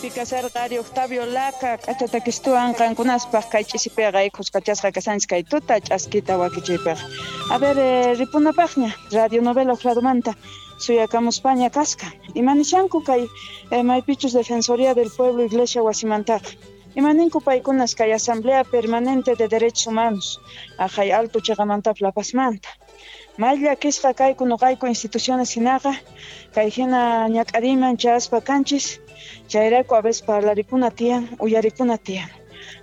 Chaypi kasarqa ari Octavio Laca k'achatakistuwan qankunaspaq kay ch'isipiqa khuskachasqa kasanchis kay tuta ch'askita wakichiypiqa. A ver, ripunapaqña radionovela uqladomanta suyakamuspaña kasqa. Imanishanku kay maypichus Defensoría del Pueblo Iglesia wasimantaqa. Imaninku paykunas kay Asamblea Permanente de Derechos Humanos aqhay alto cheqamantapis La Pazmanta. May llakisqa kayku noqayku instituciones hinaqa kay hina ñak'ariyman chayaspa kanchis, chayrayku a veces parlarikuna tiyan, uyarikuna tiyan.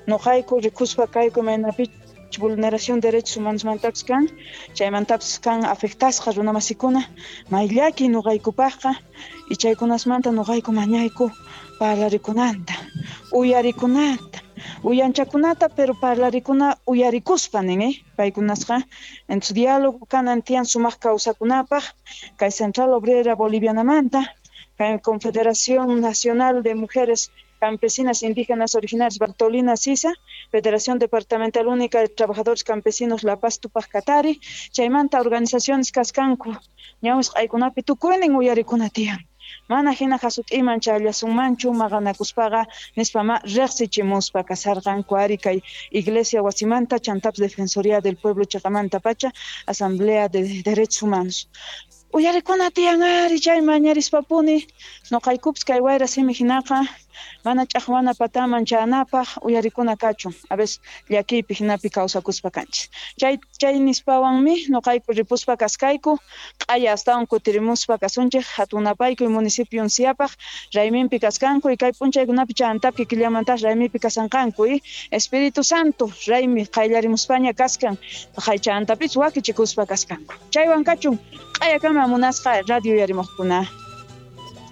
Noqayku rikuspa kayku imaynapichus vulneración derechos humanosmantapis kan, chaymantapis kan afectasqa runamasikuna, may llaki noqaykupaqqa y chaykunasmanta noqayku mañayku parlarikunanta, uyarikunata, uyanchakunata, pero parlarikuna uyarikuspa nin, paykunasqa. Entonces diálogo kanan tiyan sumaq kawsakunapaq kay Central Obrera Bolivianamanta, kay Confederación Nacional de Mujeres Campesinas Indígenas Originarias Bartolina Sisa, Federación Departamental Única de Trabajadores Campesinos La Paz Tupac Katari, chaymanta organizaciones kaskanku ñawisq'aykunapi tukuynin uyarikuna tiyan. Mana hina hasut'iman chayallasunmanchu maqanakuspaqa nispa ma riqsichimuspa kasarqanku ari kay Iglesia wasimanta chantapis Defensoría del Pueblo cheqamantapacha Asamblea de Derechos Humanos. Uyarikuna tiyan ari chay mañarispapuni noqaykupis kay wayra simi hinaqa mana ch'aqwana pataman chayanapaq uyarikuna kachun a veces llakiypi hinapi kawsakuspa kanchis. Chay chay nispawanmi noqayku ripuspa kaskayku q'aya astawan kutirimuspa kasunchik hatunapaykuy municipio Unciapaq rayminpi kaskanku y kay p'unchaykunapi chantapis kikillamantaq raymipi kasanqanku y Espíritu Santo raymi qayllarimuspaña kaskan chantapis wakichikuspa kaskanku. Chaywan kachun q'ayakama munasqa radio uyarimuqkuna.